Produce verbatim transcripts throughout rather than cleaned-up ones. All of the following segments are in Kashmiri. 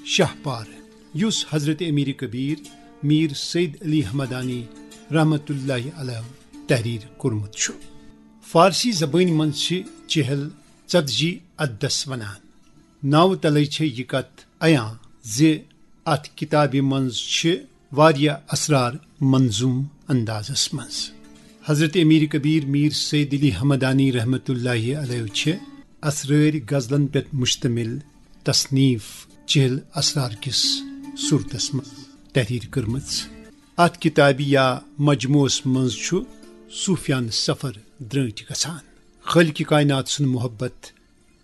شاہ پار، یُس حضرت امیر کبیر میر سید علی حمدانی رحمت اللہ علیہ تحریر کوٚرمُت چھُ۔ فارسی زبٲنۍ منٛز چھِ چہل ژتجی عددس ونان۔ ناوٕ تلے چھےٚ یہِ کتھ عیاں زِ اتھ کتابہِ منٛز چھِ واریاہ اسرار منظوم اندازس منٛز۔ حضرت امیر کبیر میر سید علی حمدانی رحمت اللہ علیہ چھِ اسرٲرۍ غزلن پٮ۪ٹھ مشتمل تصنیف چہل اسرار کِس صورتس منٛز تحریر کٔرمٕژ۔ اتھ کتابہِ یا مجموعس منٛز چھُ صوفیانہٕ سفر درٲنٹھۍ گژھان۔ خالق کائنات سُنٛد محبت،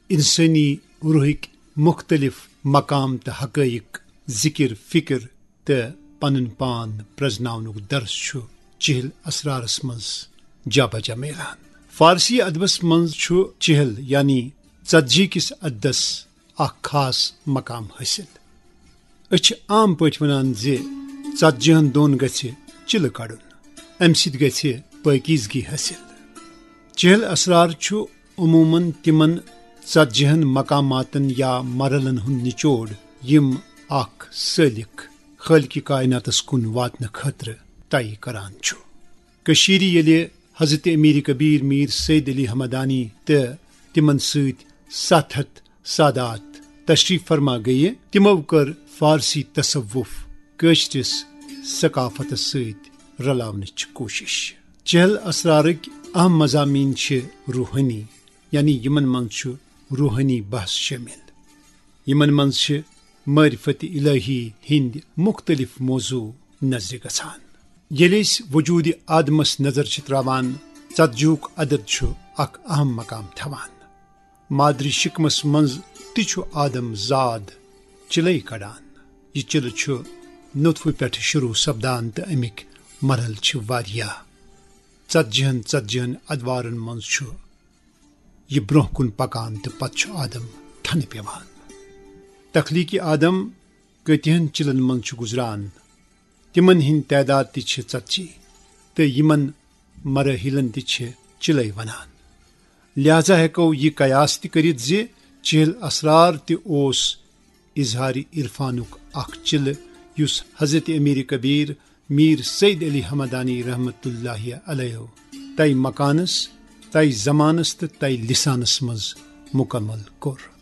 انسٲنی روحٕکۍ مختلف مقام تہٕ حقائق، ذکر فکر تہٕ پنُن پان پرزناونُک درس چھُ چہل اسرارس منٛز جا بجا میلان۔ فارسی ادبس منٛز چھُ چہل یعنی ژتجی کِس عددس اکھ خاص مقام حٲصِل۔ أسۍ چھِ عام پٲٹھۍ ونان زِ ژتجی ہن دۄن گژھِ چِلہٕ کڑُن، امہِ سۭتۍ گژھِ پٲکیزگی حٲصِل۔ چہل اسرار چھُ عموماً تِمن ژتجی ہن مقاماتن یا مرحلن ہُنٛد نچوڑ، یِم اکھ سٲلِک خالق کائناتس کُن واتنہٕ خٲطرٕ طے کران چھُ۔ کٔشیٖرِ ییٚلہِ حضرت امیر کبیر میر سید علی حمدانی تہٕ تِمن سۭتۍ ستھ ہتھ سادات تشریف فرما گٔیہِ، تِمو کٔر فارسی تصوف کٲشرِس ثقافتس سۭتۍ رلاونٕچ کوٗشش۔ چہل اسرارٕکۍ اہم مضامین چھِ روحٲنی، یعنی یِمن منٛز چھُ روحٲنی بحث شٲمِل۔ یِمن منٛز چھِ معرفت الہی ہٕنٛدۍ مُختٔلِف موضوع نظرِ گژھان۔ ییٚلہِ أسۍ وجوٗدِ آدمس نظر چھِ تراوان، ژتجیُک عدد چھُ اکھ اہم مقام تھاوان۔ مادری شکمس منٛز تہِ چھُ آدم زاد چِلے کڑان۔ یہِ چِلہٕ چھُ نطفہٕ پٮ۪ٹھٕ شروع سپدان تہٕ امیِکۍ مرحلہٕ چھِ واریاہ۔ ژتجی ہن ژتجی ہن ادوارن منٛز چھُ یہِ برونٛہہ کُن پکان تہٕ پتہٕ چھُ آدم تھنہٕ پیوان۔ تخلیقی آدم کۭتیاہن چِلن منٛز چھُ گُزران، تِمن ہٕنٛدۍ تعداد تہِ چھِ ژتجی تہٕ یِمن مراحلن تہِ چھِ چِلے ونان۔ لہذا ہیٚکو یہِ قیاس تہِ کٔرِتھ زِ چہل اسرار تہِ اوس اظہار عرفانُک اکھ چِلہٕ، یُس حضرت امیر کبیر میر سید علی حمدانی رحمت اللہ علیہ تَے مکانس، تَے زمانس تہٕ تَے لسانس منٛز مکمل کوٚر۔